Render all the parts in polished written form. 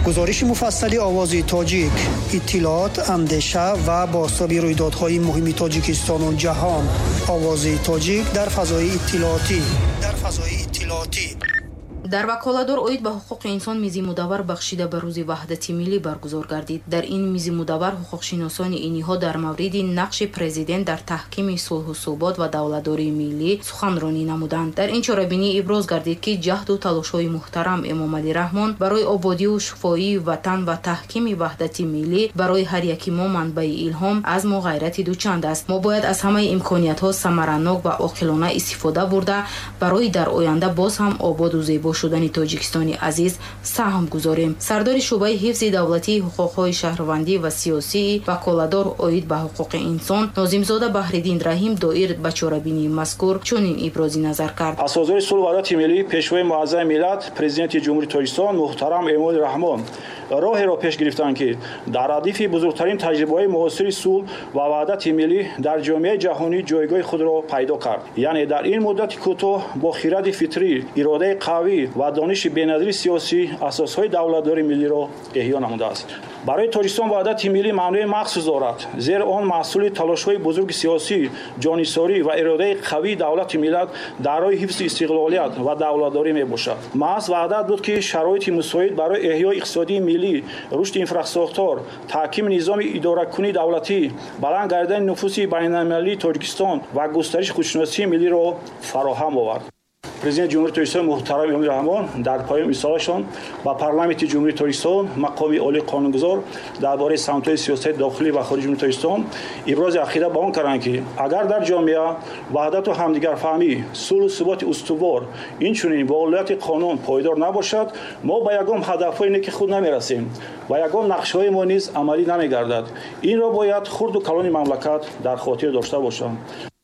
Гузориши муфассали Овози Тоҷик, иттилоот, андеша ва бозтоби рӯйдодҳои муҳими Тоҷикистону ҷаҳон. Овози Тоҷик дар фазои иттилоотӣ. Дар фазои иттилоотӣ. Дар ваколатдор оид ба ҳуқуқи инсон мизи мудаввар бахшида ба Рӯзи Ваҳдати миллӣ баргузор гардид. Дар ин мизи мудаввар ҳуқуқшиносони ин ниҳод дар мавриди нақши президент дар таҳкими сулҳу субот ва давлатдории миллӣ суханронӣ намуданд. Дар ин чорабинӣ иброз гардид, ки ҷаҳду талошҳои муҳтарам Эмомалӣ Раҳмон барои ободиву шуфоии ватан ва таҳкими ваҳдати миллӣ барои ҳар яки мо манбаи илҳом, азму ғайрати дучанд аст. Мо бояд аз ҳамаи имкониятҳо самаранок ва оқилона истифода бурда, барои дар оянда боз ҳам ободу зебо шудани Тоҷикистони азиз саҳм гузорем. Сардори шӯъбаи ҳифзи давлатии ҳуқуқҳои шаҳрвандӣ ва сиёсии ваколатдор оид ба ҳуқуқи инсон Нозимзода Баҳриддин Раҳим доир ба чорабинии мазкур чунин ибрози назар кард. Асосгузори сулҳу ваҳдати миллӣ, Пешвои муаззами миллат, Президенти Ҷумҳурии Тоҷикистон муҳтарам Эмомалӣ Раҳмон роҳеро пеш гирифтанд, ки дар радифи бузургтарин таҷрибаҳои муосири сулҳ ва ваҳдати миллӣ дар ҷомеаи ҷаҳонӣ ҷойгоҳи худро пайдо кард. Яъне дар ин муддати кӯтоҳ бо хиради фитрӣ, иродаи қавӣ ва дониши беназири сиёсӣ асосҳои давлатдории миллиро эҳё намудааст. Барои Тоҷикистон ваҳдати миллӣ маънои махсус дорад, зеро он маҳсули талошҳои бузурги сиёсӣ, ҷонисорӣ ва иродаи қавии давлати миллат дар роҳи ҳифзи истиқлолият ва давлатдорӣ мебошад. Маҳз ваҳдат буд, ки шароити мусоид барои эҳёи иқтисодии миллӣ, рушди инфрасохтор, таҳкими низоми идоракунии давлатӣ, баланд гардидани нуфузи байналмилалии Тоҷикистон ва густариши худшиносии миллиро фароҳам овард. Президенти Ҷумҳурии Тоҷикистон муҳтарам Эмомалӣ Раҳмон дар поёни рисолашон ба Парламенти Ҷумҳурии Тоҷикистон, мақоми олии қонунгузор, дар бораи самтҳои сиёсати дохилӣ ва хориҷи Ҷумҳурии Тоҷикистон ибрози ақида ба он карданд, ки агар дар ҷомеа ваҳдату ҳамдигарфаҳмӣ, сулҳу суботи устувор, инчунин волояти қонун пойдор набошад, мо ба ягон ҳадафҳои неки худ намерасем ва ягон нақшаҳои мо низ амалӣ намегардад. Инро бояд хурду калони мамлакат дар хотир дошта бошанд.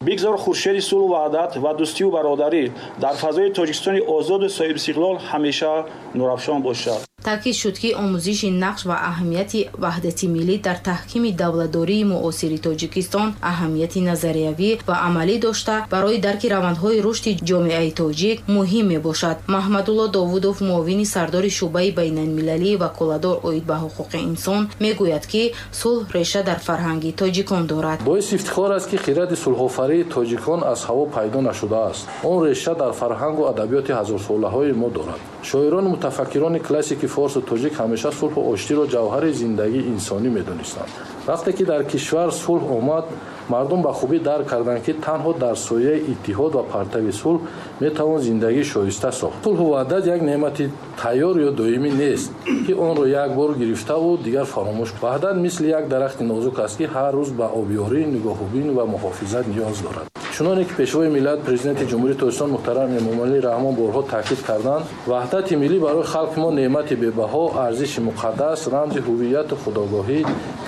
Бигзор хуршеди сулҳу ваҳдат ва дӯстию бародарӣ дар фазои Тоҷикистони озоду соҳибистиқлол ҳамеша нурафшон бошад. Таъкид шуд, ки омӯзиши нақш ва аҳамияти ваҳдати миллӣ дар таҳкими давлатдории муосири Тоҷикистон аҳамияти назариявӣ ва амалӣ дошта, барои дарки равандҳои рушди ҷомеаи тоҷик муҳим мебошад. Маҳмадулло Довудов, муовини сардори шӯъбаи байналмилалии ваколатдор оид ба ҳуқуқи инсон, мегӯяд, ки сулҳ реша дар фарҳанги тоҷикон дорад. Боиси ифтихор аст, ки хиради сулҳофарии тоҷикон аз ҳаво пайдо нашудааст. Он реша дар фарҳангу адабиёти ҳазорсолаҳои мо дорад. Шоирону мутафаккирони классики форсу тоҷик ҳамеша сулҳу оштиро ҷавҳари зиндагии инсонӣ медонистанд. Вақте ки дар кишвар сулҳ омад, мардум ба хубӣ дарк карданд, ки танҳо дар сояи иттиҳод ва партави сулҳ метавон зиндагии шоиста сохт. Сулҳу ваҳдат як неъмати тайёр ё доимӣ нест, ки онро як бор гирифтаву дигар фаромӯш. Ваҳдат мисли як дарахти нозук аст, ки ҳар рӯз ба обёрӣ, нигоҳубин ва муҳофизат ниёз дорад. Чуноне ки Пешвои миллат, Президенти Ҷумҳурии Тоҷикистон муҳтарам Эмомалӣ Раҳмон борҳо таъкид карданд, ваҳдати миллӣ барои халқи мо неъмати бебаҳо, арзиши муқаддас, рамзи ҳувияту худогоҳӣ,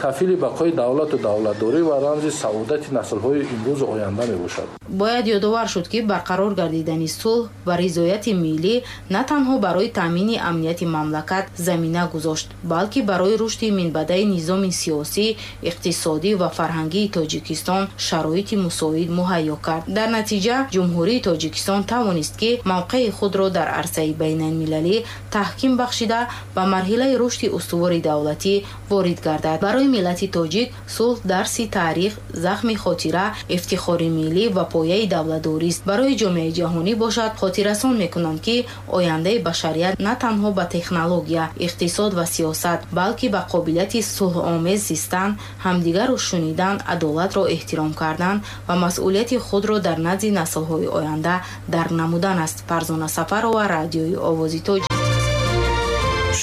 кафили бақои давлату давлатдорӣ ва рамзи саодати наслҳои имрӯзу оянда мебошад. Бояд ёдовар шуд, ки барқарор гардидани сулҳ ва ризояти миллӣ на танҳо барои таъмини амнияти мамлакат замина гузошт, балки барои рушди минбаъдаи низоми сиёсӣ, иқтисодӣ ва фарҳангии Тоҷикистон шароити мусоид муҳайё кард. Дар натиҷа Ҷумҳурии Тоҷикистон тавонист, ки мавқеи худро дар арсаи байналмилалӣ таҳким бахшида, ба марҳилаи рушди устувори давлатӣ ворид гардад. Барои миллати тоҷик сулҳ дарси таърих, захми хотира, ифтихори миллӣ ва пояи давлатдорист. Барои ҷомеаи ҷаҳонӣ бошад, хотиррасон мекунанд, ки ояндаи башарият на танҳо ба технология, иқтисод ва сиёсат, балки ба қобилияти сулҳомез зистан, ҳамдигарро шунидан, адолатро эҳтиром кардан ва масъулияти худро дар назди наслҳои оянда дарк намудан аст. Фарзона Сафарова, Радиои Овози Тоҷик.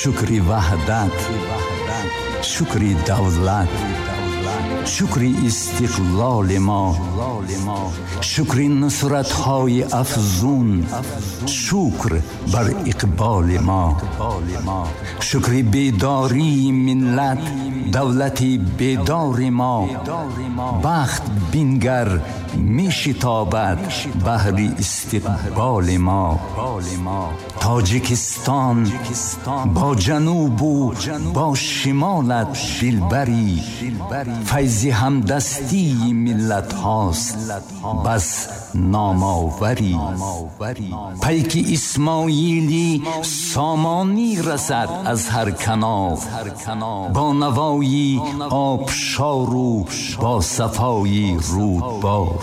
Шукри ваҳдат, шукри давлат, шукри истиқлоли мо, шукри нусратҳои афзун, шукр бар иқболи мо, шукри бедории миллат, давлати бедори мо. Бахт бингар, мешитобад баҳри истиқболи мо. Тоҷикистон бо ҷанубу бо шимолат дилбарӣ, файзи ҳамдастии миллатҳост бас номоварӣ. Пайки Исмоили Сомонӣ расад аз ҳар канор, бо навои обшору бо сафои рӯдбор.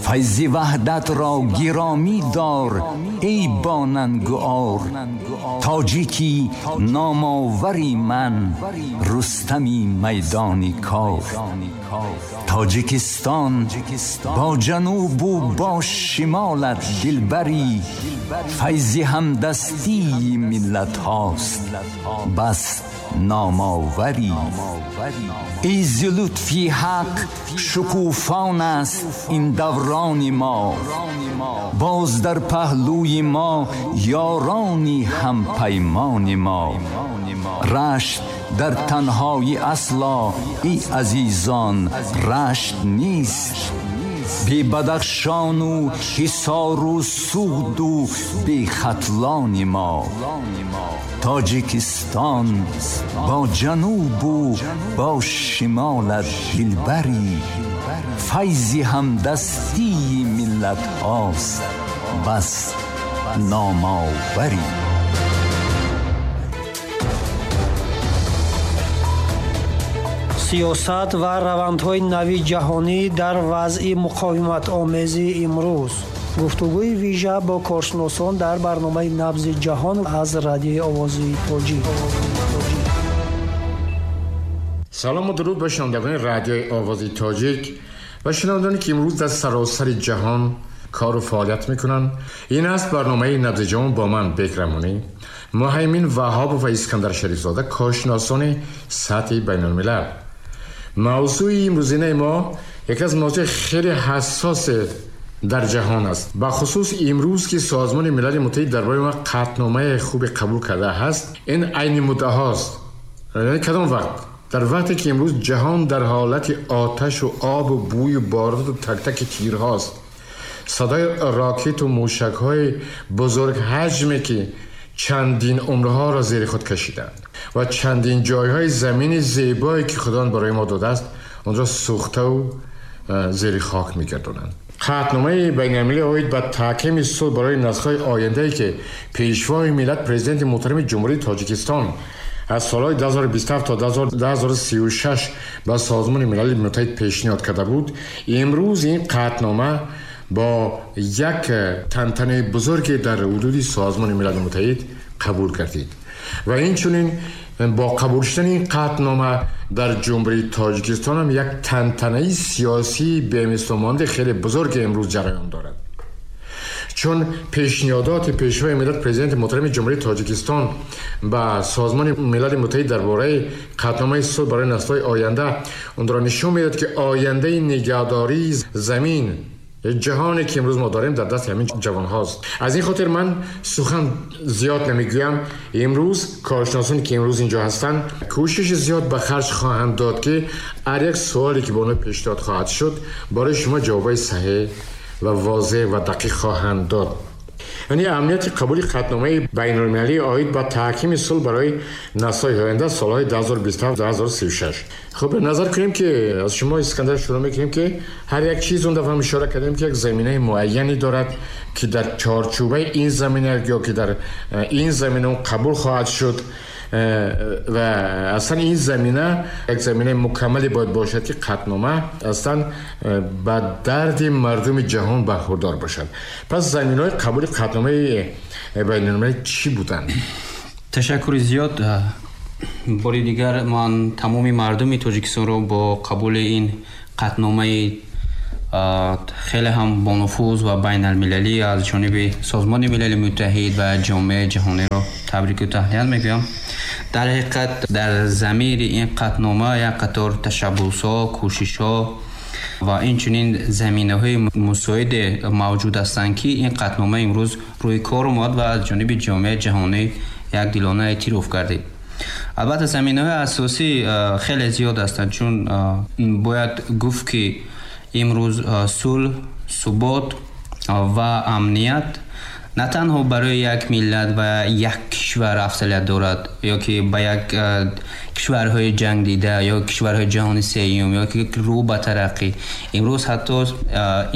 Файзи ваҳдатро гиромӣ дор эй бонангу ор, тоҷики номовари ман Рустами майдони кор. Тоҷикистон бо ҷанубу бо шимолат дилбарӣ, файзи ҳамдастии миллатҳост бас номоварӣ. Эй зи лутфи ҳақ шукуфон аст ин даврони мо, боз дар паҳлӯи мо ёрони ҳампаймони мо. Рашт дар танҳоӣ асло эй азизон рашт нест, бе Бадахшону Ҳисору Суғду бе Хатлони мо. Тоҷикистон бо ҷанубу бо шимолат дилбарӣ, файзи ҳамдастии миллатҳост бас номоварӣ. Сиёсат ва равандҳои нави ҷаҳонӣ дар вазъи муқовиматомези имрӯз. Гуфтугӯи вижа бо коршиносон дар барномаи Набзи ҷаҳон аз радиои Овози Тоҷик. Салому дуруд ба шунавандагони радиои Овози Тоҷик ва шунавандагоне ки имрӯз дар саросари ҷаҳон кору фаъолият мекунанд. Ин аст барномаи Набзи ҷаҳон бо ман Бек Раҳмонӣ, Муҳаймин Ваҳобов ва Искандар Шарифзода, коршиносони сатҳи байналмилал. Мавзӯи имрӯзинаи мо яке аз мавзӯи хеле ҳассос дар ҷаҳон аст, бахусус имрӯз ки Созмони Милали Муттаҳид дар бораи мо қатъномаи хубе қабул карда ҳаст. Ин айни муддаҳост, яъне кадом вақт? Дар вақте ки имрӯз ҷаҳон дар ҳолати оташу обу бӯю боруту тактаки тирҳост, садои ракету мушакҳои бузургҳаҷме ки чандин умрҳоро зери худ кашиданд ва чандин ҷойҳои замини зебое ки Худованд барои мо додааст онро сӯхтаву зери хок мегардонанд. Қатъномаи байналмилалӣ оид ба таҳкими сулҳ барои наслҳои ояндае ки Пешвои миллат, Президенти муҳтарами Ҷумҳурии Тоҷикистон аз солҳои 2027 то 2036 ба Созмони Милали Муттаҳид пешниҳод карда буд, имрӯз ин қатънома бо як тантанаи бузурге дар ҳудуди Созмони Милали Муттаҳид қабул гардид ва инчунин бо қабул шудани ин қатънома дар Ҷумҳурии Тоҷикистон ҳам як тантанаи сиёсии бемислу хеле бузурге имрӯз ҷараён дорад, чун пешниҳодоти Пешвои миллат, Президенти муҳтарами Ҷумҳурии Тоҷикистон ба Созмони Милали Муттаҳид дар бораи қатъномаи сулҳ барои наслҳои оянда онро нишон медиҳад ки ояндаи нигаҳдории замин, ҷаҳоне ки имрӯз мо дорем, дар дасти ҳамин ҷавонҳост. Аз ин хотир ман сухан зиёд намегӯям. Имрӯз коршиносоне ки имрӯз инҷо ҳастанд кӯшиши зиёд ба харҷ хоҳанд дод ки ҳар як суоле ки ба онҳо пешниҳод хоҳад шуд барои шумо ҷавобҳои саҳеҳ ва возеҳ ва дақиқ хоҳанд дод. Яъне аҳамияти қабули қатъномаи байналмилалӣ оид ба таҳкими сулҳ барои наслҳои оянда солҳои 2027-2036. Хуб, назар кунем ки аз шумо Искандар шурӯъ мекунем ки ҳар як чиз он дафъа ҳам ишора кардем ки як заминаи муайяне дорад ки дар чорчӯбаи ин замина ё ки дар ин замина он қабул хоҳад шуд ва аслан ин замина як заминаи мукаммале бояд бошад ки қатънома аслан ба дарди мардуми ҷаҳон бархурдор бошад. Пас заминаҳои қабули қатъномаи байналмилалӣ чӣ буданд? Ташаккури зиёд. Бори дигар ман тамоми мардуми Тоҷикистонро бо қабули ин қатъномаи хеле ҳам бонуфуз ва байналмилалӣ аз ҷониби Созмони Милали Муттаҳид ва ҷомеаи ҷаҳониро табрику таҳният мегӯям. Дар ҳақиқат дар замири ин қатънома як қатор ташаббусҳо, кӯшишҳо ва инчунин заминаҳои мусоиде мавҷуд ҳастанд ки ин қатънома имрӯз рӯи кор омад ва аз ҷониби ҷомеаи ҷаҳонӣ якдилона эътироф гардид. Албатта заминаҳои асосӣ хеле зиёд ҳастанд, чун бояд гуфт ки имрӯз сулҳ, субот ва амният На танҳо барои як миллат ва як кишвар афзалият дорад, ё ки ба як кишварҳои ҷангдида ё кишварҳои ҷаҳони сеюм ё ки рӯ ба тараққӣ. Имрӯз ҳатто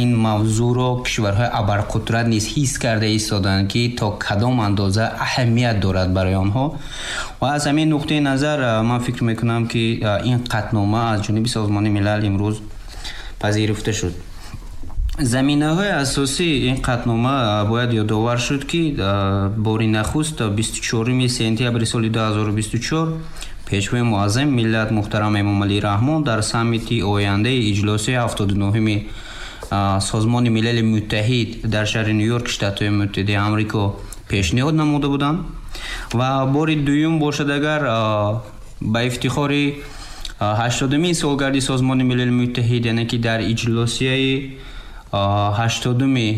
ин мавзӯъро кишварҳои абарқудрат низ ҳис карда истоданд, ки то кадом андоза аҳамият дорад барои онҳо. Ва аз ҳамин нуқтаи назар ман фикр мекунам, ки ин қатънома аз ҷониби Созмони Милал имрӯз пазируфта шуд. Заминаҳои асосии ин қатънома бояд ёдовар шуд, ки бори нахуст 24 сентябри соли 2024 Пешвои муаззами миллат муҳтарам Эмомалӣ Раҳмон дар саммити ояндаи иҷлосияи 79-ми Созмони Милали Муттаҳид дар шаҳри Ню-Йорк, Штатҳои Муттаҳидаи Амрико пешниҳод намуда буданд. Ва бори дуюм бошад, агар ба ифтихори 80-умин солгарди Созмони Милали Муттаҳид, яъне ки дар иҷлосияи 80-уми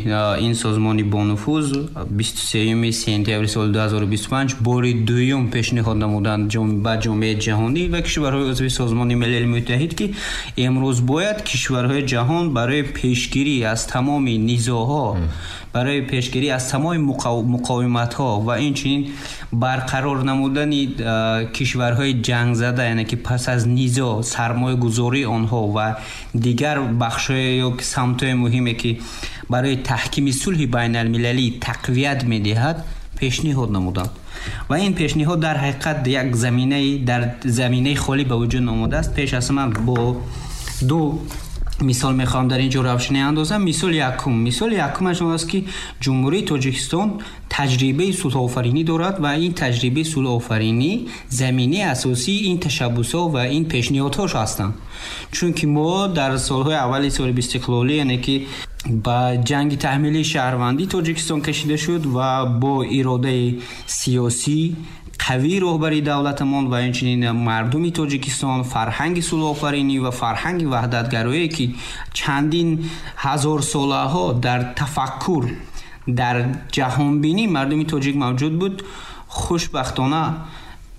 ин созмони бонуфуз 23 сентябри соли 2025 бори дуюм пешниҳод намуданд ба ҷомеаи ҷаҳонӣ ва кишварҳои узви Созмони Милали Муттаҳид, ки имрӯз бояд кишварҳои ҷаҳон барои пешгирӣ аз тамоми низоъҳо, барои пешгирӣ аз тамоми муқовиматҳо ва инчунин барқарор намудани кишварҳои ҷангзада, яъне ки пас аз низоъ сармоягузории онҳо ва дигар бахшҳои ё самтҳои муҳиме, ки барои таҳкими сулҳи байналмилалӣ тақвият медиҳад, пешниҳод намуданд. Ва ин пешниҳод дар ҳақиқат як заминаи дар заминаи холӣ ба вуҷуд омадааст. Пеш аз ҳама бо ду мисол мехоҳам дар ин ҷо равшанӣ андозам. Мисоли якумаш он аст, ки Ҷумҳурии Тоҷикистон таҷрибаи сулҳофаринӣ дорад ва ин таҷрибаи сулҳофаринӣ заминаи асосии ин ташаббусҳо ва ин пешниҳодҳош ҳастанд. Чунки мо дар солҳои аввали соҳиби истиқлолӣ, яъне ки ба ҷанги таҳмилии шаҳрвандӣ Тоҷикистон кашида шуд ва бо иродаи сиёсӣ қавии роҳбари давлатамон ва инчунин мардуми Тоҷикистон фарҳанги сулҳофаринӣ ва фарҳанги ваҳдатгароие, ки чандин ҳазорсолаҳо дар тафаккур, дар ҷаҳонбинӣ мардуми тоҷик мавҷуд буд, хушбахтона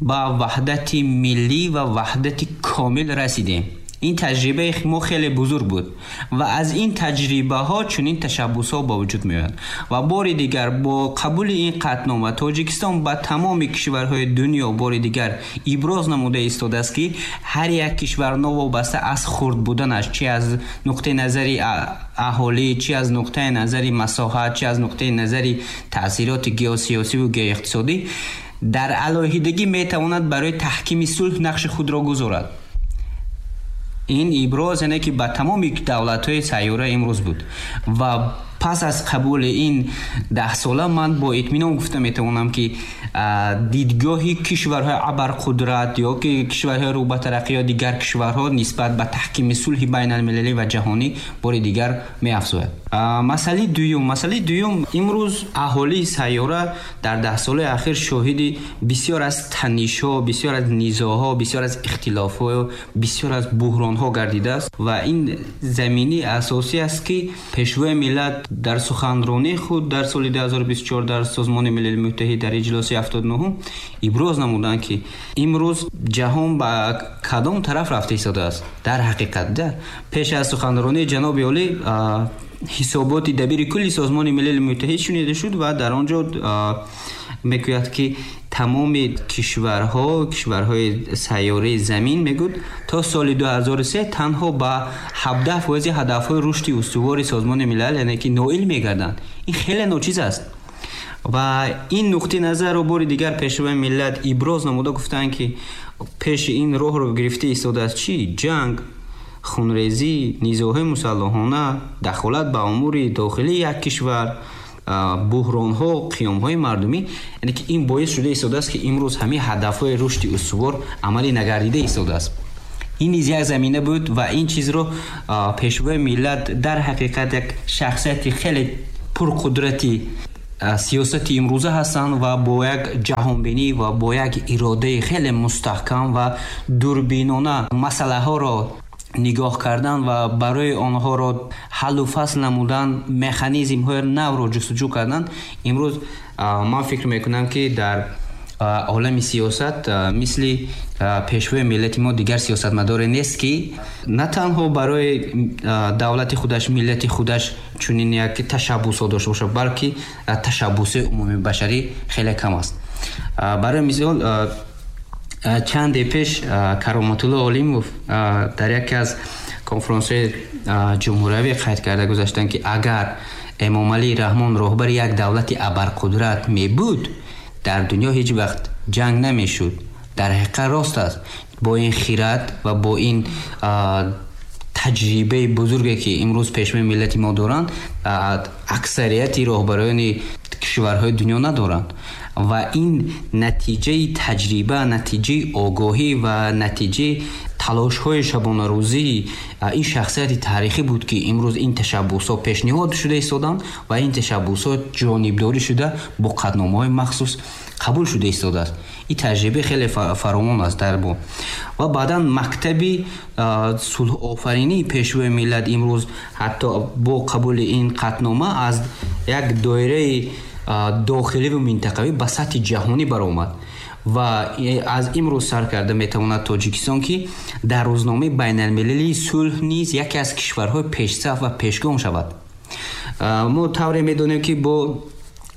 ба ваҳдати миллӣ ва ваҳдати комил расидем. Ин таҷрибаи мо хеле бузург буд ва аз ин таҷрибаҳо чунин ташаббусҳо ба вуҷуд меоянд. Ва бори дигар бо қабули ин қатънома Тоҷикистон ба тамоми кишварҳои дунё бори дигар иброз намуда истодааст, ки ҳар як кишвар новобаста аз хурд буданаш, чи аз нуқтаи назари аҳолӣ, чи аз нуқтаи назари масоҳат, чи аз нуқтаи назари таъсироти геосиёсиву геоиқтисодӣ, дар алоҳидагӣ метавонад барои таҳкими сулҳ нақши худро гузорад. Ин иброз, яъне ки ба тамоми давлатҳои сайёра имрӯз буд. Ва пас аз қабули ин 10 сола ман бо итминон гуфта метавонам, ки дидгоҳи кишварҳои абарқудрат ё ки кишварҳои рӯ ба тараққӣ ё дигар кишварҳо нисбат ба таҳкими сулҳи байналмилалӣ ва ҷаҳонӣ бори дигар меафзояд. Масъалаи дуюм: имрӯз аҳолии сайёра дар 10 солаи ахир шоҳиди бисёр аз танишҳо, бисёр аз низоъҳо, бисёр аз ихтилофҳо, бисёр аз буҳронҳо гардидааст. Ва ин замини асосӣ аст, ки Пешвои миллат дар суханронии худ дар соли 2024 дар Созмони Милали Муттаҳид дар иҷлоси 79 иброз намуданд, ки имрӯз ҷаҳон ба кадом тараф рафта истодааст. Дар ҳақиқат, да пеш аз суханронии ҷаноби олӣ ҳисоботи дабири кулли Созмони Милали Муттаҳид шунида шуд ва дар он ҷо мегӯяд, ки тамоми кишварҳои сайёраи замин, мегӯд, то соли 2003 танҳо ба 17 фоизи ҳадафҳои рушди устувори Созмони Милал, яъне ки ноил мегарданд. Ин хеле ночиз аст. Ва ин нуқтаи назарро бори дигар Пешвои миллат иброз намуда гуфтанд, ки пеши ин роҳро гирифта истодааст чӣ? Ҷанг, хунрезӣ, низоъҳои мусаллаҳона, дахолат ба умури дохилии як кишвар, буҳронҳо, қиёмҳои мардумӣ. Яъне ки ин боис шуда истодааст, ки имрӯз ҳамин ҳадафҳои рушди устувор амалӣ нагардида истодааст. Ин низ як замина буд ва ин чизро Пешвои миллат дар ҳақиқат як шахсияти хеле пурқудрати сиёсати имрӯза ҳастанд ва бо як ҷаҳонбинӣ ва бо як иродаи хеле мустаҳкам ва дурбинона масъалаҳоро нигоҳ кардан ва барои онҳоро ҳаллу фасл намудан механизмҳои навро ҷустуҷӯ кардан. Имрӯз ман фикр мекунам, ки дар Олами сиёсат мисли пешвои миллати мо дигар сиёсатмадоре нест, ки на танҳо барои давлати худаш, миллати худаш чунин як ташаббусҳо дошта бошад, балки ташаббуси умумибашарӣ хеле кам аст. Барои мисол, чанде пеш Кароматулло Олимов дар яке аз конфронсҳои ҷумҳуриявӣ қайд карда гузаштанд, ки агар Эмомалӣ Раҳмон роҳбари як давлати абарқудрат мебуд, дар дунё ҳеҷ вақт ҷанг намешуд. Дар ҳақиқат рост аст. Бо ин хират ва бо ин таҷрибаи бузурге, ки имрӯз пешвои миллати мо доранд, аксарияти роҳбарони кишварҳои дунё надоранд. Ва ин натиҷаи таҷриба, натиҷаи огоҳӣ ва натиҷаи талошҳои шабонарӯзии ин шахсияти таърихӣ буд, ки имрӯз ин ташаббусҳо пешниҳод шуда истоданд ва ин ташаббусҳо ҷонибдорӣ шуда бо қатъномаҳои махсус қабул шуда истодааст. Ин таҷриба хеле фаровон аст дар бо. Ва баъдан мактаби сулҳофаринии пешвои миллат имрӯз ҳатто бо қабули ин қатънома аз як доираи дохилӣ ва минтақавӣ ба сатҳи ҷаҳонӣ баромад ва аз имрӯз сар карда метавонад Тоҷикистон, ки дар рӯзномаи байналмилалии сулҳ низ яке аз кишварҳои пешсаф ва пешгом шавад. Мо тавре медонем, ки бо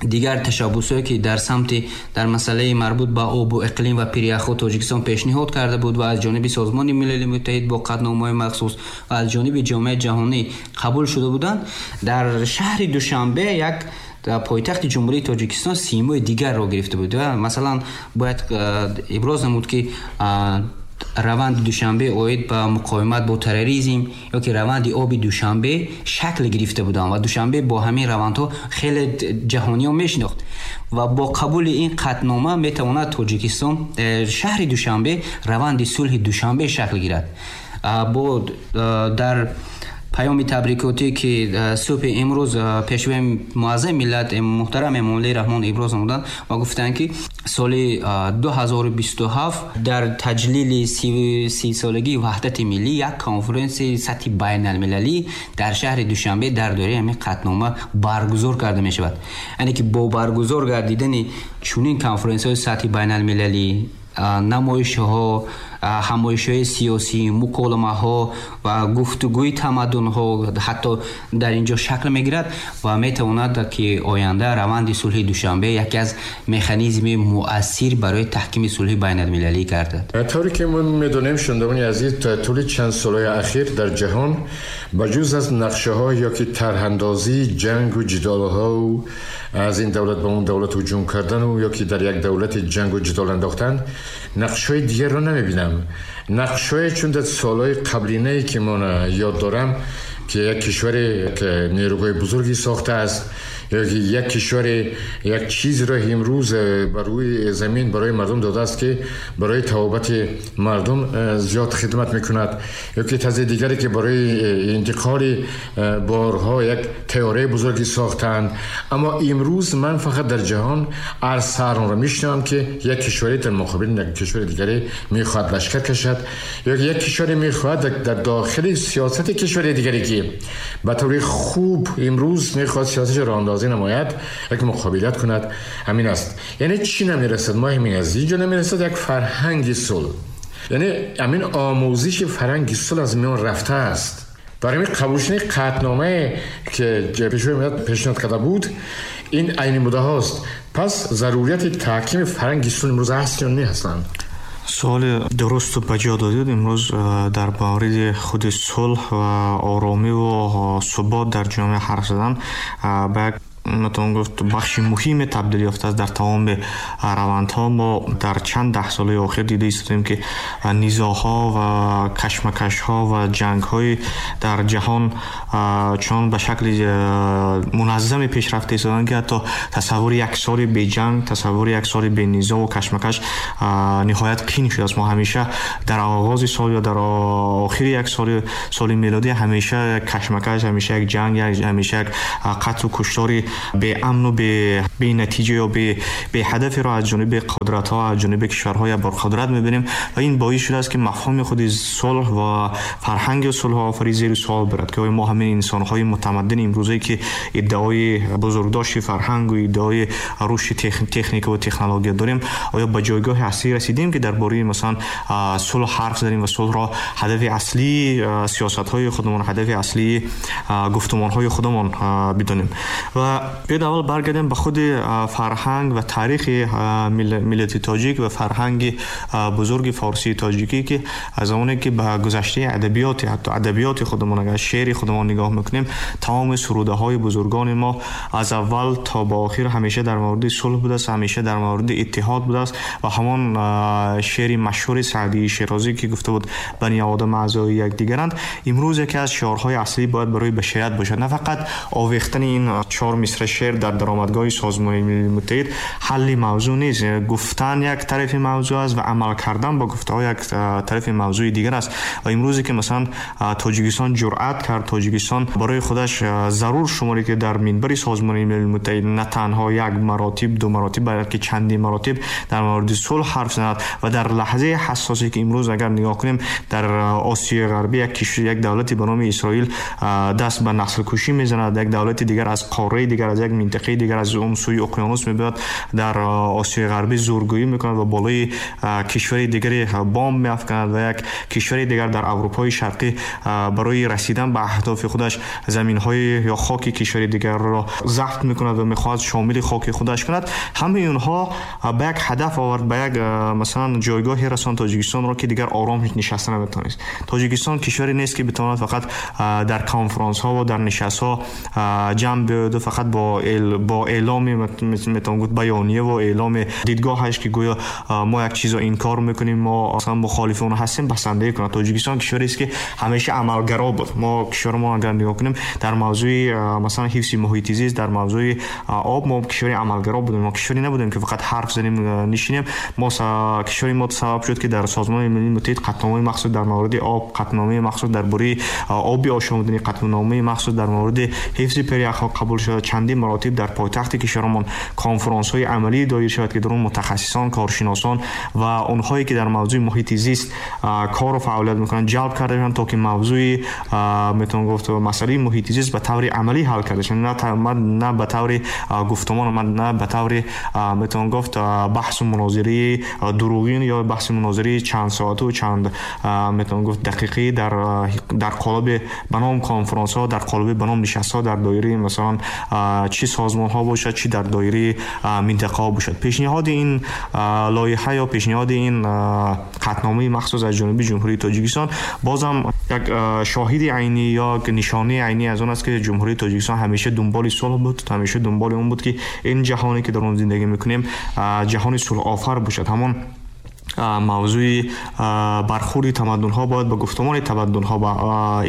дигар ташаббусҳое, ки дар самти дар масъалаи марбут ба обу иқлим ва пиряхҳо Тоҷикистон пешниҳод карда буд ва аз ҷониби Созмони Милали Муттаҳид бо қатъномаҳои махсус ва аз ҷониби ҷомеаи ҷаҳонӣ қабул шуда буданд, дар шаҳри Душанбе, як пойтахти Ҷумҳурии Тоҷикистон, симои дигарро гирифта буд. Масалан, бояд иброз намуд, ки раванди Душанбе оид ба муқовимат бо терроризм ё ки раванди оби Душанбе шакл гирифта буданд ва Душанбе бо ҳамин равандҳо хеле ҷаҳониён мешинохт. Ва бо қабули ин қатънома метавонад Тоҷикистон, шаҳри Душанбе, раванди сулҳи Душанбе шакл гирад. Бо дар паёми табрикотӣ, ки субҳи имрӯз пешвои муаззами миллат муҳтарам Эмомалӣ Раҳмон иброз намуданд ва гуфтанд, ки соли 2027 дар таҷлили 30-солагии ваҳдати миллӣ як конференсияи сатҳи байналмилалӣ дар шаҳри Душанбе дар доираи ҳамин қатънома баргузор карда мешавад. Яъне ки бо баргузор гардидани чунин конференсияҳои сатҳи байналмилалӣ, намоишҳо, ҳамоишҳои сиёсӣ, муколамаҳо ва гуфтугӯи тамаддунҳо ҳатто дар ин ҷо шакл мегирад ва метавонад, ки оянда раванди сулҳи Душанбе яке аз механизми муассир барои таҳкими сулҳи байналмилалӣ гардад. Тавре ки мо медонем, шунавандагони азиз, тӯли чанд солҳои ахир дар ҷаҳон ба ҷуз аз нақшаҳо ё ки тарҳандозии ҷангу ҷидолҳо, аз ин давлат ба он давлат ҳуҷум кардану ё ки дар як давлати ҷангу ҷидол андохтан, нақшҳои дигарро намебинам. Нақшҳое, чун дар солҳои қаблинае ки ман ёд дорам, ки як кишваре нерӯгоҳи бузурге сохтааст ё ки як кишваре як чизро имрӯз бар рӯи замин барои мардум додааст, ки барои тавобати мардум зиёд хидмат мекунад, ё ки тарзи дигаре, ки барои интиқоли борҳо як тайёраи бузурге сохтаанд. Аммо имрӯз ман фақат дар ҷаҳон арз онро мешунавам, ки як кишваре дар муқобили як кишвари дигаре мехоҳад лашкар кашад ё як кишваре мехоҳад дар дохили сиёсати кишвари дигаре, ки ба таври хуб имрӯз мехоҳад сиёсаташ роҳандозӣ намояд, як муқобилат кунад. Ҳамин аст. Яъне чӣ намерасад? Мо ҳамин аст, инҷо намерасад як фарҳанги сулҳ. Яъне ҳамин омӯзиши фарҳанги сулҳ аз миён рафтааст. Барои ҳамин қабул шудани қатъномае, ки пешвои миллат пешниҳод карда буд, ин айни муддаост. Пас зарурияти таҳкими фарҳанги сулҳ имрӯз ҳаст ё не ҳастанд? Суоли дурусту ба ҷо додед. Имрӯз дар мавриди худи сулҳ ва оромиву субот дар ҷомеа ҳарф задан ба як, метавон гуфт, бахши муҳиме табдил ёфтааст дар тамоми равандҳо. Мо дар чанд даҳсолаи охир дида истодем, ки низоъҳо ва кашмакашҳо ва ҷангҳои дар ҷаҳон чун ба шакли муназзаме пеш рафта истоданд, ки ҳатто тасаввури як соли беҷанг, тасаввури як соли бенизоъу кашмакаш ниҳоят қин шудааст. Мо ҳамеша дар оғози сол ё дар охири як соли мелодӣ ҳамеша як кашмакаш, ҳамеша як ҷанг, ҳамеша як қатлу куштори беамн ва бенатиҷа ё беҳадафиро аз ҷониби қудратҳо, аз ҷониби кишварҳои абарқудрат мебинем ва ин боис шудааст ки мафҳуми худи сулҳ ва фарҳанги сулҳофарӣ зери суол барад, ки оё мо ҳамин инсонҳои мутамаддини имрӯзае ки иддаои бузургдошти фарҳанг ва иддаои рушди техника ва технология дорем, оё ба ҷойгоҳи аслӣ расидем ки дар бораи масалан сулҳ ҳарф занем ва сулҳро ҳадафи аслии сиёсатҳои худамон, ҳадафи аслии гуфтумонҳои худамон бидонем. Ва биёед аввал баргардем ба худи фарҳанг ва таърихи миллати тоҷик ва фарҳанги бузурги форсии тоҷикӣ, ки аз замоне ки ба гузаштаи адабиёти, ҳатто адабиёти худамон, агар шеъри худамон нигоҳ мекунем, тамоми сурудаҳои бузургони мо аз аввал то ба охир ҳамеша дар мавриди сулҳ будааст, ҳамеша дар мавриди иттиҳод будааст. Ва ҳамон шеъри машҳури Саъдии Шерозӣ ки гуфта буд бани одам аъзои якдигаранд, имрӯз яке аз шиорҳои аслӣ бояд барои башарият бошад. На фақат овехтани ин чор мисра шеър дар даромадгоҳи Созмони Милали Муттаҳид ҳалли мавзӯъ нест. Гуфтан як тарафи мавзӯъ аст ва амал кардан бо гуфтаҳо як тарафи мавзӯи дигар аст. Ва имрӯзе ки масалан Тоҷикистон ҷуръат кард, Тоҷикистон барои худаш зарур шуморид ки дар минбари Созмони Милали Муттаҳид на танҳо як маротиб, ду маротиб, балки чандин маротиб дар мавриди сулҳ ҳарф занад ва дар лаҳзаи ҳассосе ки имрӯз агар нигоҳ кунем дар Осиёи Ғарбӣ як кишвар, як давлате ба номи Исроил даст ба наслкушӣ мезанад, як давлати дигар аз қораи дигар, аз як минтақаи дигар, аз он сӯи уқёнус мебиёд, дар Осиёи Ғарбӣ зӯргӯӣ мекунад ва болои кишвари дигаре бомб меафканад ва як кишвари дигар дар Аврупои Шарқӣ барои расидан ба аҳдофи худаш заминҳои ё хоки кишвари дигарро забт мекунад ва мехоҳад шомили хоки худаш кунад. Ҳамаи онҳо ба як ҳадаф овард, ба як масалан ҷойгоҳе расонд Тоҷикистонро ки дигар ором нишаста наметавонист. Тоҷикистон кишваре нест ки битавонад фақат дар конфронсҳо ва дар нишастҳо ҷамъ биёяд ва фақат бо эъломи, метавон гуфт, баёния ва эъломи дидгоҳаш ки гӯё мо як чизро инкор мекунем, мо аслан мухолифи он ҳастем, басандагӣ кунад. Тоҷикистон кишварест ки ҳамеша амалгаро буд. Мо кишвари мо агар нигоҳ кунем дар мавзӯи масалан ҳифзи муҳити зист, дар мавзӯи об мо кишвари амалгаро будем. Мо кишваре набудем ки фақат ҳарф занем, нишинем. Мо кишвари мо сабаб шуд ки дар Созмони Милали Муттаҳид қатъномаи махсус дар мавриди об, қатъномаи махсус дар бораи оби ошомиданӣ, қатъномаи махсус дар мавриди ҳифзи пиряхҳо қабул шуд. Чандин маротиб дар пойтахти кишварамон конфронсҳои амалӣ доир шавад ки дар он мутахассисон, коршиносон ва онҳое ки дар мавзӯи муҳити зист кору фаъолият мекунанд ҷалб карда шаванд, то ки мавзӯи метавон гуфт масъалаи муҳити зист ба таври амалӣ ҳал карда шавад, на ба таври гуфтумон, на ба таври метавон гуфт баҳсу мунозираи дурӯғин ё баҳси мунозираи чанд соату чанд метавон гуфт дақиқӣ дар қолаби ба ном конфронсҳо, дар қолаби ба ном нишастҳо дар доираи масалан чӣ созмонҳо бошад, чӣ дар доираи минтақаҳо бошад. Пешниҳоди ин лоиҳа ё пешниҳоди ин қатъномаи махсус аз ҷониби Ҷумҳурии Тоҷикистон бозам як шоҳиди айнӣ ё нишонаи айнӣ аз он аст ки Ҷумҳурии Тоҷикистон ҳамеша дунболи сулҳ буд, ҳамеша дунболи он буд ки ин ҷаҳоне ки дар он зиндагӣ мекунем ҷаҳони сулҳофар бошад. Ҳамон мавзӯи бархӯрди тамаддунҳо бояд ба гуфтумони тамаддунҳо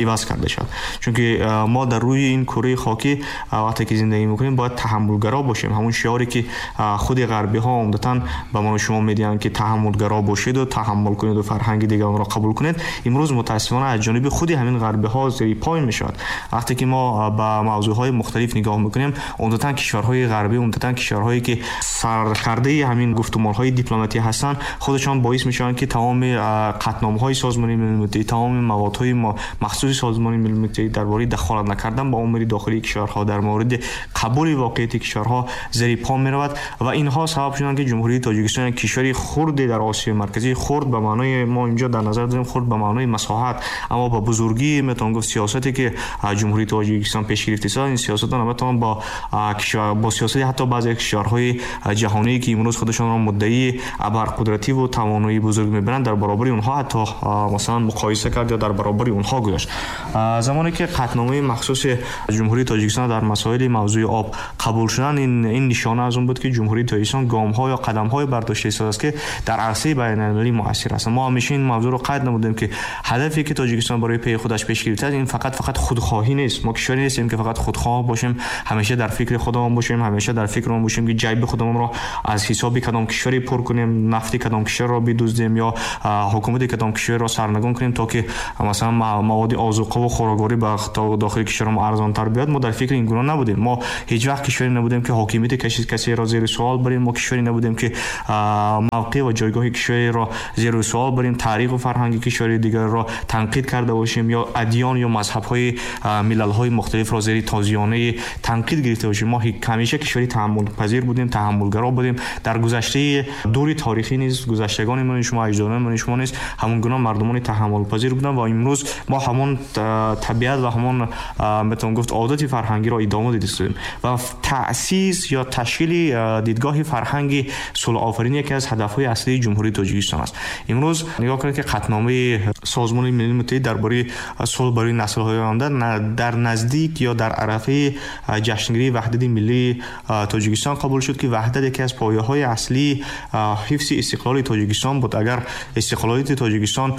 иваз карда шавад, чунки мо дар рӯи ин кураи хокӣ вақте ки зиндагӣ мекунем бояд таҳаммулгаро бошем. Ҳамон шиоре ки худи ғарбиҳо умдатан ба мо шумо медиҳанд ки таҳаммулгаро бошед ва таҳаммул кунед ва фарҳанги дигаронро қабул кунед, имрӯз мутаассифона аз ҷониби худи ҳамин ғарбиҳо зери пой мешавад. Вақте ки мо ба мавзӯъҳои мухталиф нигоҳ мекунем, умдатан кишварҳои ғарбӣ, умдатан кишварҳое ки саркардаи ҳамин гуфтумонҳои дипломатӣ ҳастанд, худашон боис мешаванд ки тамоми қатъномаҳои Созмони Милали Муттаҳид, тамоми маводҳои махсуси Созмони Милали Муттаҳид дар бораи дахолат накардан ба умури дохилии кишварҳо, дар мавриди қабули воқеияти кишварҳо зери по меравад ва инҳо сабаб шуданд ки Ҷумҳурии Тоҷикистон як кишвари хурде дар Осиёи Марказӣ, хурд ба маънои мо инҷо дар назар дорем хурд ба маънои масоҳат, аммо ба бузургӣ метавон гуфт сиёсате ки Ҷумҳурии Тоҷикистон пеш гирифтааст, ин сиёсатро наметавон бо сиёсати ҳатто баъзе кишварҳои ҷаҳонӣ ки имрӯз худашонро муддаии абарқудратӣ ва тавоноии бузург мебаранд дар баробари онҳо ҳатто масалан муқоиса кард ё дар баробари онҳо гузошт. Замоне ки қатъномаи махсуси Ҷумҳурии Тоҷикистон дар масоили мавзӯи об қабул шуданд, ин нишона аз он буд ки Ҷумҳурии Тоҷикистон гомҳо ё қадамҳое бардошта истодааст ки дар арсаи байналмилалӣ муассир ҳастанд. Мо ҳамеша ин мавзӯъро қайд намудем ки ҳадафе ки Тоҷикистон барои пеи худаш пеш гирифтааст ин фақат худхоҳӣ нест. Мо кишваре нестем ки фақат худхоҳ бошем, ҳамеша дар фикри худамон бошем, ҳамеша дар фикри он бошем ки ҷайби худамонро аз ҳисоби кадом кишваре пур кунем, нафти кадом кишвар кишварро бидуздем ё ҳукумати кадом кишварро сарнагун кунем, то ки масалан маводи озуқа ва хӯрокворӣ ба дохили кишварамон арзонтар биёяд. Мо дар фикри ин гуна набудем. Мо ҳеҷ вақт кишваре набудем, ки ҳокимияти касеро зери суол барем. Мо кишваре набудем, ки мавқеъ ва ҷойгоҳи кишвареро зери суол барем, таъриху фарҳанги кишвари дигарро танқид карда бошем ё адён ё мазҳабҳои миллалҳои мухталифро зери тозиёнаи танқид гирифта бошем. Мо ҳамеша кишвари таҳаммулпазир будем, таҳаммулгаро будем. Дар гузаштаи дури таърихӣ низ гузаштагони мо, шумо, аҷдодони мо, шумо низ ҳамон гуна мардумони таҳаммулпазир буданд ва имрӯз мо ҳамон табиат ва ҳамон метавон гуфт одати фарҳангиро идома додем. Ва таъсис ё ташкили дидгоҳи фарҳанги сулҳофаринӣ яке аз ҳадафҳои асосии Ҷумҳурии Тоҷикистон аст. Имрӯз нигоҳ кунед, ки қатъномаи Созмони Милали Муттаҳид дар бораи сулҳ барои наслҳои оянда дар наздик ё дар арафаи ҷашнгирии ваҳдати миллии Тоҷикистон қабул шуд, ки ваҳдат яке аз пояҳои асосии ҳифзи истиқлоли Тоҷикистон буд. Агар истиқлолияти Тоҷикистон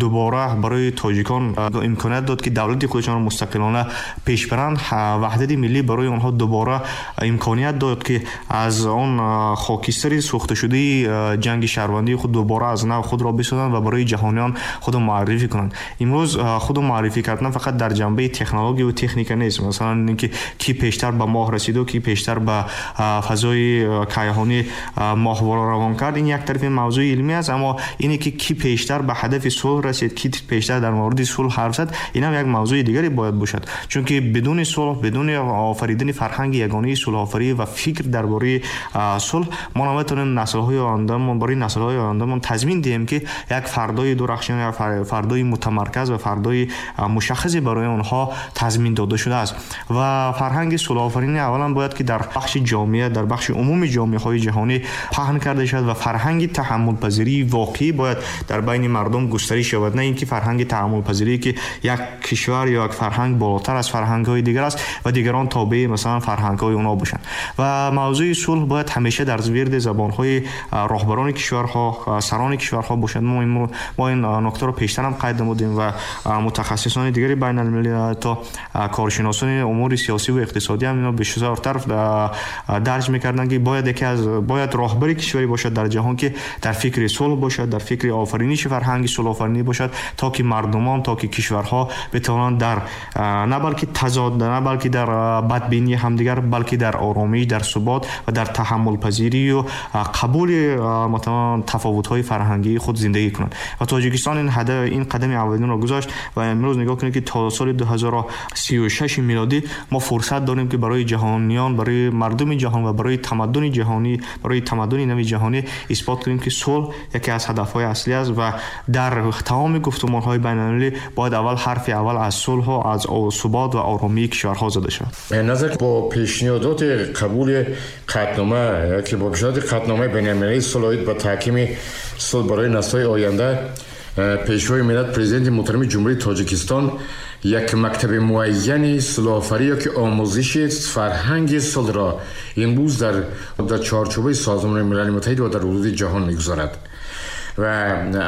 дубора барои тоҷикон имконият дод, ки давлати худашонро мустақилона пеш баранд, ваҳдати миллӣ барои онҳо дубора имконият дод, ки аз он хокистари сӯхташудаи ҷанги шаҳрвандии худ дубора аз нав худро бисозанд ва барои ҷаҳониён худро муаррифӣ кунанд. Имрӯз худро муаррифӣ кардан фақат дар ҷанбаи технология ва техника нест. Масалан, инки ки пештар ба моҳ расид ва ки пештар ба фазои кайҳонӣ моҳвора равон кард, ин як тарафи мавзӯи илмӣ аст. Аммо ине ки ки пештар ба ҳадафи сулҳ расид, ки пештар дар мавриди сулҳ ҳарф зад, ин ҳам як мавзӯи дигаре бояд бошад. Чунки бидуни сулҳ, бидуни офаридани фарҳанги ягонаи сулҳофарӣ ва фикр дар бораи сулҳ, мо наметавонем наслҳои ояндамон, барои наслҳои ояндамон тазмин диҳем, ки як фардои дурахшон, як фардои мутамарказ ва фардои мушаххасе барои онҳо тазмин дода шудааст. Ва фарҳанги сулҳофаринӣ аввалан бояд ки дар бахши ҷомеа, дар бахши умуми ҷомеаҳои ҷаҳонӣ паҳн карда шавад ва фарҳанги таҳаммулпазирии воқеӣ бояд дар байни мардум густариш ёбад, на инки фарҳанги таҳаммулпазирӣ, ки як кишвар ё як фарҳанг болотар аз фарҳангҳои дигар аст ва дигарон тобеи масалан фарҳангҳои онҳо бошанд. Ва мавзӯи сулҳ бояд ҳамеша дар вирди забонҳои роҳбарони кишварҳо, сарони кишварҳо бошад. Мо ин нуктаро пештар ҳам қайд намудем ва мутахассисони дигари байналмилалӣ то коршиносони умури сиёсӣ ва иқтисодӣ ҳам инро бештар дарҷ мекарданд, ки бояд яке аз бояд роҳбари кишваре бошад дар ҷаҳон, ки дар фикри сулҳ бошад, дар фикри офариниши фарҳанги сулҳофаринӣ бошад, то ки мардумон, то ки кишварҳо битавонанд дар на балки тазод, на балки дар бадбинии ҳамдигар, балки дар оромӣ, дар субот ва дар таҳаммулпазирӣ ва қабули масалан тафовутҳои фарҳангии худ зиндагӣ кунанд. Ва Тоҷикистон ин ҳадаф, ин қадами аввалинро гузошт ва имрӯз нигоҳ кунед, ки то соли 2036 милодӣ мо фурсат дорем, ки барои ҷаҳониён, барои мардуми ҷаҳон ва барои тамаддуни ҷаҳонӣ, барои тамаддуни нави ҷаҳонӣ исбот кунем, ки сулҳ яке аз ҳадафҳои аслӣ аст ва дар тамоми гуфтумонҳои байналмилалӣ бояд аввал ҳарфи аввал аз сулҳ, аз субот ва оромии кишварҳо зада шавад. назар бо пешниҳодоти қабули қатънома, ки бо пешниҳоди қатъномаи байналмилалии сулҳ оид ба таҳкими сулҳ барои наслҳои оянда, Пешвои миллат, Президенти муҳтарами Ҷумҳурии Тоҷикистон як мактаби муайяни сулҳофарӣ ё ки омӯзиши фарҳанги сулҳро имрӯз дар чорчӯбаи Созмони Милали Муттаҳид ва дар ҳудуди ҷаҳон мегузорад. Ва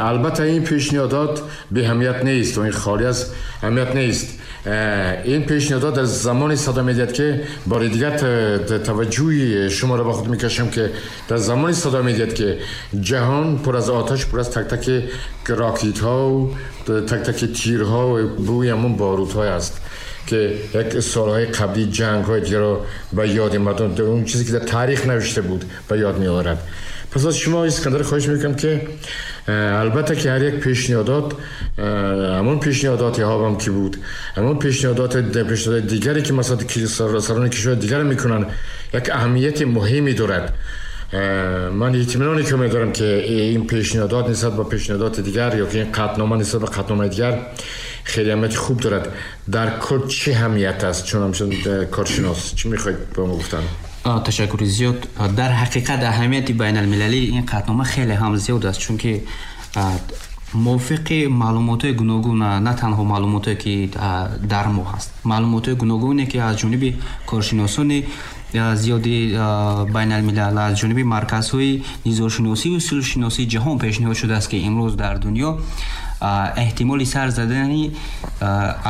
албатта ин пешниҳодот беаҳамият нест ва ин холӣ аз аҳамият нест. Ин пешниҳодот дар замоне садо медиҳад, ки бори дигар таваҷҷӯҳи шуморо ба худ мекашам, ки дар замоне садо медиҳад, ки ҷаҳон пур аз оташ, пур аз тактаки ракетҳо, тактаки тирҳо ва бӯи ҳамон борудҳо аст, ки як солҳои қаблӣ ҷангҳои дигарро ба ёди мардум, он чизе ки дар таърих навишта буд, ба ёд меорад. Пас аз шумо, Искандар, хоҳиш мекунам, ки албатта ки ҳар як пешниҳодот, ҳамон пешниҳодоти ҳам ки буд, ҳамон пешниҳодоти дигаре ки масалан сарони кишварҳои дигар мекунанд, як аҳамияти муҳиме дорад. Ман итминоне ки медорам, ки ин пешниҳодот нисбат ба пешниҳодоти дигар ё ки ин қатънома нисбат ба қатъномаи дигар хеле аҳамияти хуб дорад. Дар кул чӣ аҳамият аст? Чун ҳамчун коршинос чӣ мехоҳед ба мо гуфтан? Ташаккури зиёд. Дар ҳақиқат аҳамияти байналмилалии ин қатънома хеле ҳам зиёд аст, чунки мувофиқи маълумотҳои гуногун, на танҳо маълумотҳое ки дар мо ҳаст, маълумотҳои гуногуне ки аз ҷониби коршиносони зиёди байналмилал, аз ҷониби марказҳои низошиносӣ ва сулҳшиносии ҷаҳон пешниҳод шудааст, ки имрӯз дар дунё эҳтимоли сар задани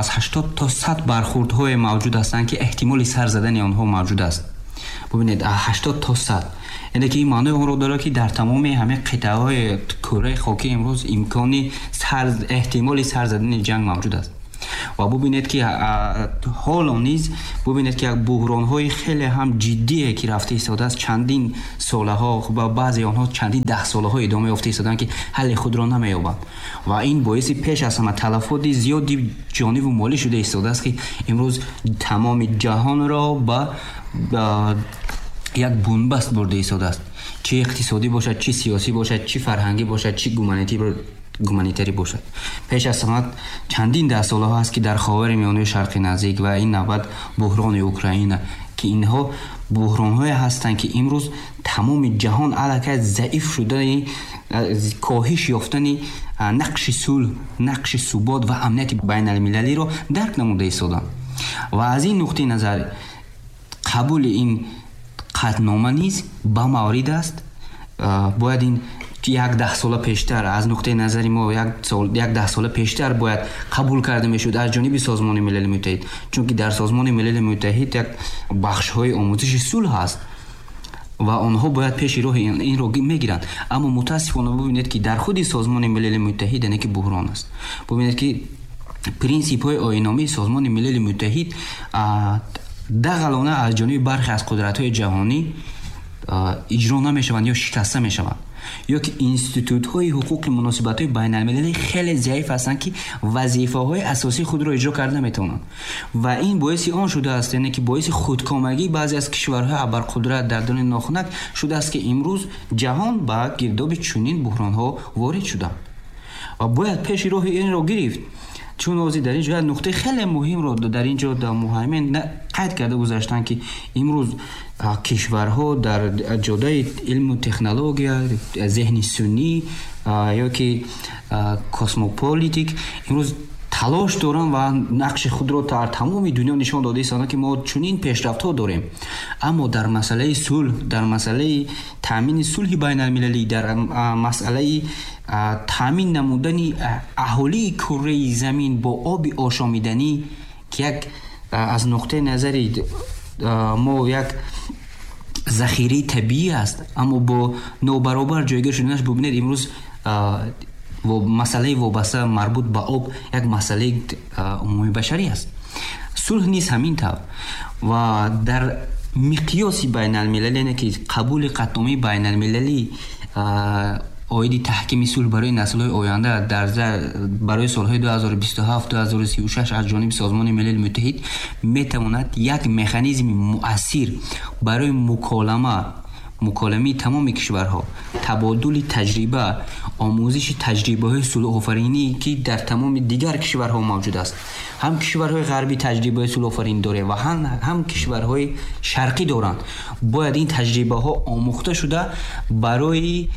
аз 80 то 100 бархӯрдҳое мавҷуд ҳастанд, ки эҳтимоли сар задани онҳо мавҷуд аст. Бубинед, 80 то 100. Яъне ки ин маънои онро дорад, ки дар тамоми ҳамаи қитъаҳои кураи хокӣ имрӯз имкони эҳтимоли сар задани ҷанг мавҷуд аст. Ва бубинед, ки ҳоло низ бубинед, ки як буҳронҳои хеле ҳам ҷиддие, ки рафта истодааст чандин солаҳо ва баъзе онҳо чандин даҳсолаҳо идома ёфта истодаанд, ки ҳалли худро намеёбанд. Ва ин боиси пеш аз ҳама талафоти зиёди ҷониву молӣ шуда истодааст, ки имрӯз тамоми ҷаҳонро ба як бунбаст бурда истодааст. Чӣ иқтисодӣ бошад, чӣ сиёсӣ бошад, чӣ фарҳангӣ бошад, чӣ гуманитарӣ бошад. Пеш аз ҳама чандин даҳсолаҳо аст, ки дар Ховари Миёнаи Шарқи Наздик ва ин навбат буҳрони Украина, ки инҳо буҳронҳое ҳастанд, ки имрӯз тамоми ҷаҳон аллакай заиф шудани, коҳиш ёфтани нақши сулҳ, нақши субот ва амнияти байналмилалиро дарк намуда истоданд. Ва аз ин нуқтаи назар қабули ин қатънома низ ба маврид аст. Бояд ин як даҳсола пештар, аз нуқтаи назари мо як даҳсола пештар бояд қабул карда мешуд аз ҷониби Созмони Милали Муттаҳид, чунки дар Созмони Милали Муттаҳид як бахшҳои омӯзиши сулҳ ҳаст ва онҳо бояд пеши роҳи инро мегиранд. Аммо мутаассифона бубинед, ки дар худи Созмони Милали Муттаҳид яъне ки буҳрон аст. Бубинед, ки принсипҳои оинномаи Созмони Милали Муттаҳид дағалона аз ҷониби бархе аз қудратҳои ҷаҳонӣ иҷро намешаванд ё шикаста мешаванд, ё ки институтҳои ҳуқуқи муносибатҳои байналмилалӣ хеле заиф ҳастанд, ки вазифаҳои асосии худро иҷро карда наметавонанд. Ва ин боиси он шудааст, яъне ки боиси худкомагии баъзе аз кишварҳои абарқудрат дар дони нохунак шудааст, ки имрӯз ҷаҳон ба гирдоби чунин буҳронҳо ворид шуданд ва бояд пеши роҳи инро гирифт. Чун ҳозир дар ин ҷо як нуқтаи хеле муҳимро дар ин ҷо муҳаймин қайд карда гузаштанд, ки имрӯз кишварҳо дар ҷодаи илму технология, зеҳни суннӣ ё ки космополитик имрӯз талош доранд ва нақши худро дар тамоми дунё нишон дода истоданд, ки мо чунин пешрафтҳо дорем. Аммо дар масъалаи сулҳ, дар масъалаи таъмини сулҳи байналмилалӣ, дар масъалаи таъмин намудани аҳолии кураи замин бо оби ошомиданӣ, ки як аз нуқтаи назари мо як захираи табиӣ аст, аммо бо нобаробар ҷойгир шуданаш бубинед, имрӯз масъалаи вобаста марбут ба об як масъалаи умумибашарӣ аст. Сулҳ низ ҳамин тавр. Ва дар миқёси байналмилалӣ, яъне ки қабули қатъномаи байналмилалӣ оиди таҳкими сулҳ барои наслҳои оянда дар барои солҳои 2027-2036 аз ҷониби Созмони Милали Муттаҳид метавонад як механизми муассир барои муколамаи тамоми кишварҳо, табодули таҷриба, омӯзиши таҷрибаҳои сулҳофаринӣ, ки дар тамоми дигар кишварҳо мавҷуд аст. Ҳам кишварҳои ғарбӣ таҷрибаи сулҳофаринӣ доранд ва ҳам кишварҳои шарқӣ доранд. Бояд ин таҷрибаҳо омӯхта шуда барои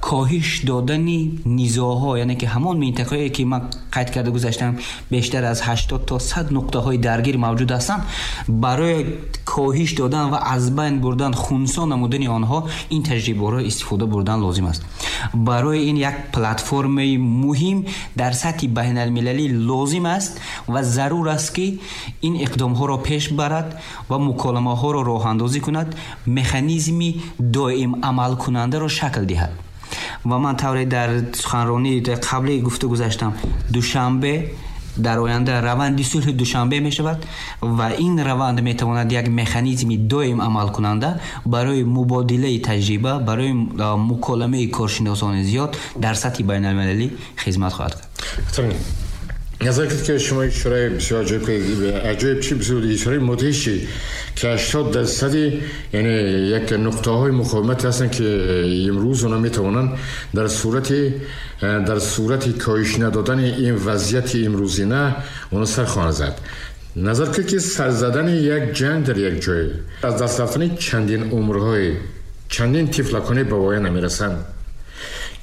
коҳиш додани низоъҳо, яъне ки ҳамон минтақае, ки ман қайд карда гузаштам, бештар аз 80 то 100 нуқтаҳои даргир мавҷуд ҳастанд, барои коҳиш додан ва аз байн бурдан, хунсо намудани онҳо ин таҷрибаҳоро истифода бурдан лозим аст. Барои ин як платформаи муҳим дар сатҳи байналмилалӣ лозим аст ва зарур аст, ки ин иқдомҳоро пеш барад ва муколамаҳоро роҳандозӣ кунад, механизми доим амалкунандаро шакл диҳад. Ва ман тавре дар суханронии қаблӣ гуфта гузаштам, Душанбе дар оянда раванди сулҳи Душанбе мешавад ва ин раванд метавонад як механизми доим амалкунанда барои мубодилаи таҷриба, барои муколамаи коршиносони зиёд дар сатҳи байналмилалӣ хизмат хоҳад кард. نظر کرد که شما اشاره بسیار عجایب عجایب چی بسیار اشاره مدهشی که 80% یعنی یک نقطه های مقاومت هستن که امروز اونا میتوانن در صورت کاهش ندادن این وضعیت امروزینه اونا سر خواهند زد. نظر کرد که سر زدن یک جنگ در یک جای از دست رفتن چندین عمرهای چندین طفلکانه به پایان نمیرسند.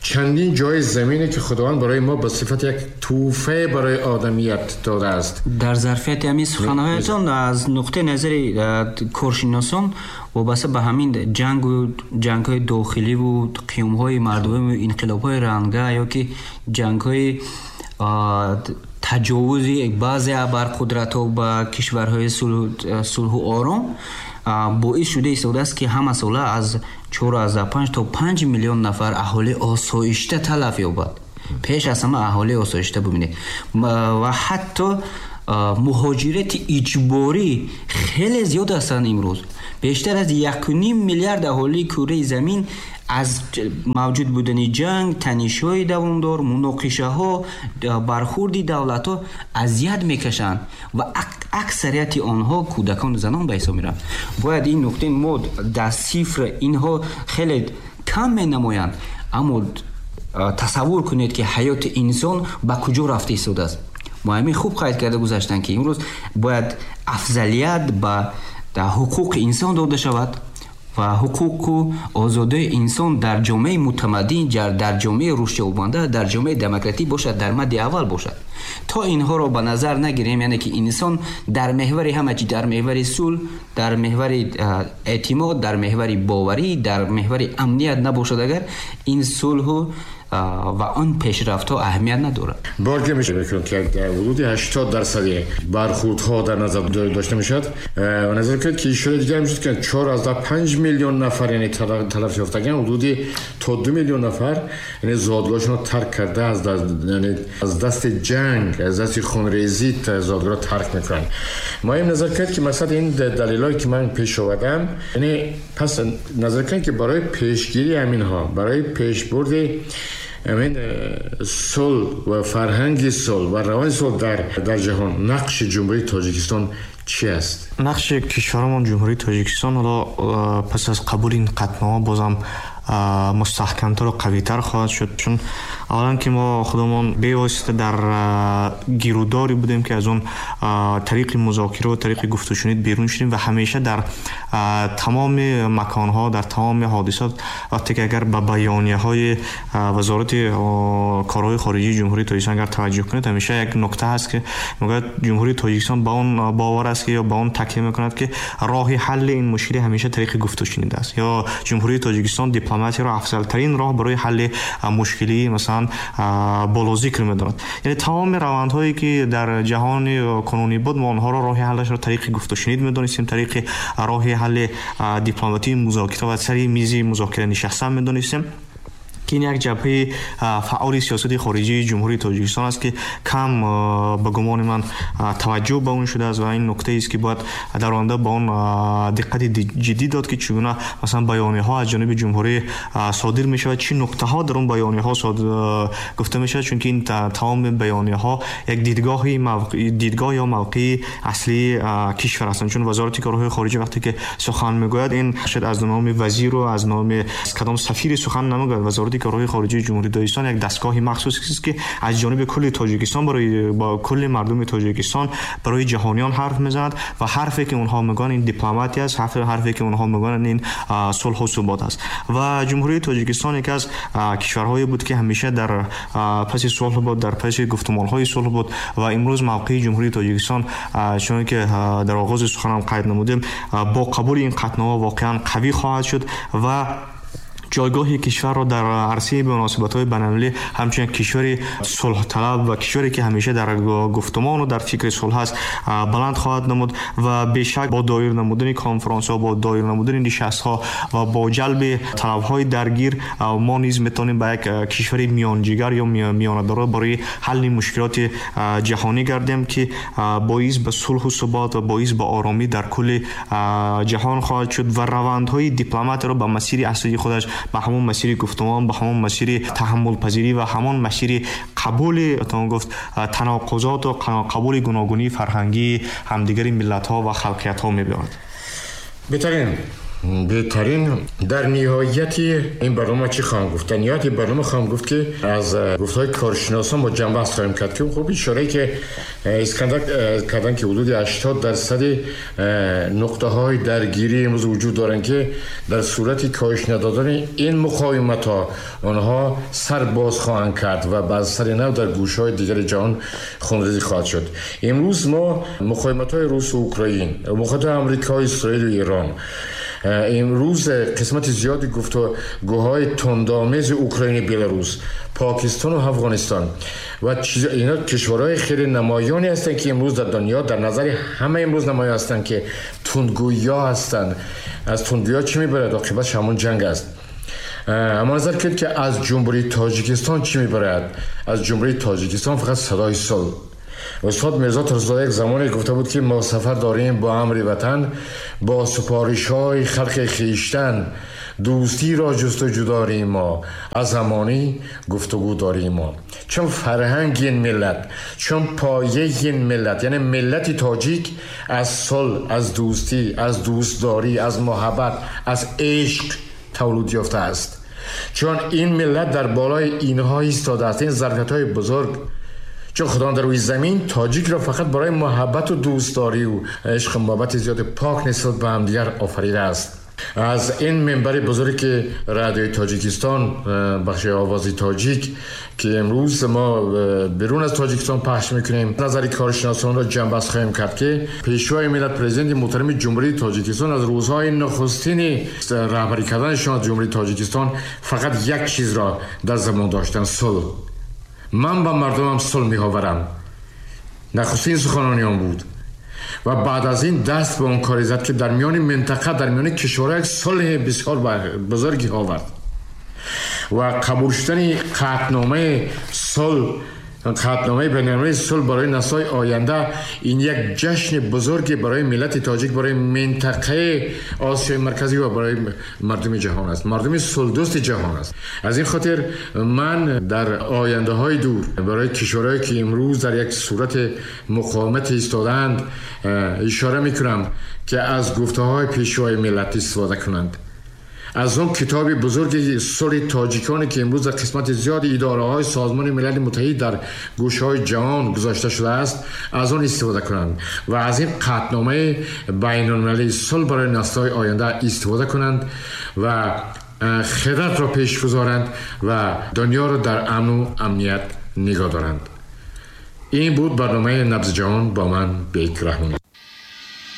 چندین جای زمینی که خداوند برای ما به صفت یک توفه برای آدمیت داده است. در ظرفیت همین سخنهایتان از نقطه نظر کارشناسان وابسته به همین جنگ و جنگ‌های داخلی و قیام‌های مردمی و انقلاب‌های رنگه یا که جنگ‌های تجاوز بعضی ابرقدرت‌ها به کشورهای صلح و آرام باعث شده ایستاده است که همه ساله از 4.5 то 5 миллион нафар аҳолии осоишта талаф ёбад. Пеш аз ҳама аҳолии осоишта бубинед ва ҳатто муҳоҷирати иҷборӣ хеле зиёд ҳастанд имрӯз. Бештар аз 1.5 миллиард аҳолии кураи замин аз мавҷуд будани ҷанг, танишҳои давомдор, муноқишаҳо, бархурди давлатҳо азият мекашанд ва аксарияти онҳо кӯдакону занон ба ҳисоб мераванд. Бояд ин нуқтаи мо дар сифр инҳо хеле кам менамоянд, аммо тасаввур кунед, ки ҳаёти инсон ба куҷо рафта истодааст. Муҳаммин хуб қайд карда гузаштанд, ки имрӯз бояд афзалият ба ҳуқуқи инсон дода шавад ва ҳуқуқу озодии инсон дар ҷомеаи мутамаддин, дар ҷомеаи рушдёбанда, дар ҷомеаи демократӣ бошад, дар мадди аввал бошад. То инҳоро ба назар нагирем, яъне ки инсон дар меҳвари ҳама чи, дар меҳвари сулҳ, дар меҳвари эътимод, дар меҳвари боварӣ, дар меҳвари амният набошад, агар ин сулҳу ва он пешрафтҳо аҳамият надорад. Борге мешавад, ки дар ҳудуди 80% бархӯрдҳо дар назар дошта мешавад ва назар кунед, ки ишора дигар мешуд, ки 4.5 миллион нафар, яъне талаф ёфтаган, ҳудуди то 2 миллион нафар, яъне зодгоҳашонро тарк карда, яъне аз дасти ҷанг, аз дасти хунрезӣ зодгоҳро тарк мекунанд. Мо им назар кунед, ки масалан ин далелҳое ки ман пеш овардам, яъне пас назар кунед, ки барои пешгирии ҳаминҳо, барои пешбурди амин сулҳ ва фарҳанги сулҳ ва раванди сулҳ дар ҷаҳон нақши Ҷумҳурии Тоҷикистон чӣ аст? Нақши кишварамон Ҷумҳурии Тоҷикистон ҳоло пас аз қабули ин қатънома бозам мустаҳкамтар ва қавитар хоҳад шуд, чун аввалан ки мо худамон бевосита дар гирудоре будем, ки аз он тариқи музокира ва тариқи гуфтушунид берун шудем ва ҳамеша дар тамоми маконҳо, дар тамоми ҳодисот, вақте ки агар ба баёнияҳои вазорати корҳои хориҷии Ҷумҳурии Тоҷикистон агар таваҷҷӯҳ кунед, ҳамеша як нукта ҳаст, ки мегӯяд Ҷумҳурии Тоҷикистон ба он бовар аст, ки ё ба он такя мекунад, ки роҳи ҳалли ин мушкилӣ ҳамеша тариқи гуфтушунид аст, ё Ҷумҳурии Тоҷикистон дипломатияро афзалтарин роҳ барои ҳалли мушкилии масалан боло зикр медонад. Яъне тамоми равандҳое ки дар ҷаҳони кунунӣ буд, мо онҳоро роҳи ҳаллашро тариқи гуфтушунид медонистем, тариқи роҳи ҳалли дипломатии музокира ва сари мизи музокира нишастан медонистем, ки ин як ҷабҳаи фаъоли сиёсати хориҷии Ҷумҳурии Тоҷикистон аст, ки кам ба гумони ман таваҷҷӯҳ ба он шудааст ва ин нуктаест, ки бояд дар оянда ба он диққати ҷиддӣ дод, ки чӣ гуна масалан баёнияҳо аз ҷониби ҷумҳурӣ содир мешавад, чӣ нуктаҳо дар он баёнияҳо гуфта мешавад, чунки ин тамоми баёнияҳо як дидгоҳ ё мавқеи аслии кишвар ҳастанд. Чун вазорати корҳои хориҷа вақте ки сухан мегӯяд, ин шояд аз номи вазиру аз номи кадом сафири сухан намегӯяд. Вазорати корҳои хориҷии Ҷумҳурии Тоҷикистон як дастгоҳи махсус аст, ки аз ҷониби кулли Тоҷикистон барои кулли мардуми Тоҷикистон барои ҷаҳониён ҳарф мезанад ва ҳарфе ки онҳо мегӯянд ин дипломатия аст, ҳарфе ки онҳо мегӯянд ин сулҳу субот аст. Ва Ҷумҳурии Тоҷикистон яке аз кишварҳое буд, ки ҳамеша дар паси сулҳ буд, дар паси гуфтумонҳои сулҳ буд ва имрӯз мавқеи Ҷумҳурии Тоҷикистон, чунон ки дар оғози суханам қайд намудем, бо қабули ин қатънома воқеан қавӣ хоҳад шуд ва ҷойгоҳи кишварро дар арсаи муносибатҳои байналмилалӣ ҳамчун як кишвари сулҳталаб ва кишваре ки ҳамеша дар гуфтумону дар фикри сулҳ аст баланд хоҳад намуд ва бешак бо доир намудани конфронсҳо, бо доир намудани нишастҳо ва бо ҷалби талабҳои даргир мо низ метавонем ба як кишвари миёнҷигар ё миёнадоро барои ҳалли мушкилоти ҷаҳонӣ гардем, ки боис ба сулҳу субот ва боис ба оромӣ дар кулли ҷаҳон хоҳад шуд ва равандҳои дипломатиро ба масири аслии худаш, ба ҳамон масири гуфтумон, ба ҳамон масири таҳаммулпазирӣ ва ҳамон масири қабули, тавон гуфт, таноқузот ва қабули гуногунии фарҳангии ҳамдигари миллатҳо ва халқиятҳо мебиёрад. Беҳтарин. Дар ниҳояти ин барнома чӣ хоҳам гуфт? Дар ниҳояти барнома хоҳам гуфт, ки аз гуфтаҳои коршиносон мо ҷанбаҳс хоҳем кард, ки хуб ишорае ки Искандар карданд, ки ҳудуди 80% нуқтаҳои даргирӣ имрӯз вуҷуд доранд, ки дар сурати коҳиш надодани ин муқовиматҳо онҳо сар боз хоҳанд кард ва ба сари нав дар гӯшаҳои дигари ҷаҳон хунрезӣ хоҳад шуд. Имрӯз мо муқовиматҳои русу Украин, муқовиматҳои Амрико, Исроилу Эрон امروز قسمت زیادی گفتگوهای تندآمیز اوکراین، بلاروس، پاکستان و افغانستان و اینا کشورهای خیلی نمایانی هستند که امروز در دنیا در نظر همه امروز نمایان هستند که تندگویا هستند. از تندگویا چی میبرد؟ عاقبتش همون جنگ است. اما نظر کرد که از جمهوری تاجیکستان چی میبرد؟ از جمهوری تاجیکستان فقط صدای صلح. استاد میرزا ترس‌زاده یک زمانی گفته بود که ما سفر داریم با امر وطن، با سپارش های خلق خویشتن، دوستی را جستجو داریم ما، از زمانی گفتگو داریم ما. چون فرهنگ این ملت، چون پایه این ملت، یعنی ملت تاجیک از صلح، از دوستی، از دوستداری، از محبت، از عشق تولد یافته است. چون این ملت در بالای اینها ایستاده است، این ظرفیت های بزرگ. چون خدا در روی زمین تاجیک را فقط برای محبت و دوستداری و عشق و محبت زیاد پاک نسبت به همدیگر آفریده است. از این منبر بزرگی که رادیوی تاجیکستان، بخش آوازی تاجیک که امروز ما بیرون از تاجیکستان پخش میکنیم، نظر کارشناسان را جمع‌بست خواهیم کرد که پیشوای ملت، پرزیدنت محترم جمهوری تاجیکستان، از روزهای نخستین رهبری کردنشان از جمهوری تاجیکستان فقط یک چیز را در زبان داشتن: صلح. من با مردمم صلح میآورم. نخستین سخنرانی آن بود و بعد از این دست به اون کاری زد که در میان منطقه، در میان کشورها یک صلح بسیار بزرگی آورد و قبول شدن قطعنامه صلح، قطعنامه بین‌المللی صلح برای نسل‌های آینده، این یک جشن بزرگی برای ملت تاجیک، برای منطقه آسیای مرکزی و برای مردم جهان است، مردم صلح‌دوست جهان است. از این خاطر من در آینده های دور برای کشورهایی که امروز در یک صورت مقاومت ایستادند اشاره میکنم که از گفته های پیشوای ملت استفاده کنند، از اون کتاب بزرگ صلح تاجیکانی که امروز در قسمت زیاد اداره های سازمان ملل متحد در گوشه های جهان گذاشته شده است، از آن استفاده کنند و از این قطعنامه بین المللی صلح برای نسل های آینده استفاده کنند و خرد را پیش گذارند و دنیا را در امن و امنیت نگاه دارند. این بود برنامه نبض جهان با من، بیک رحمانی.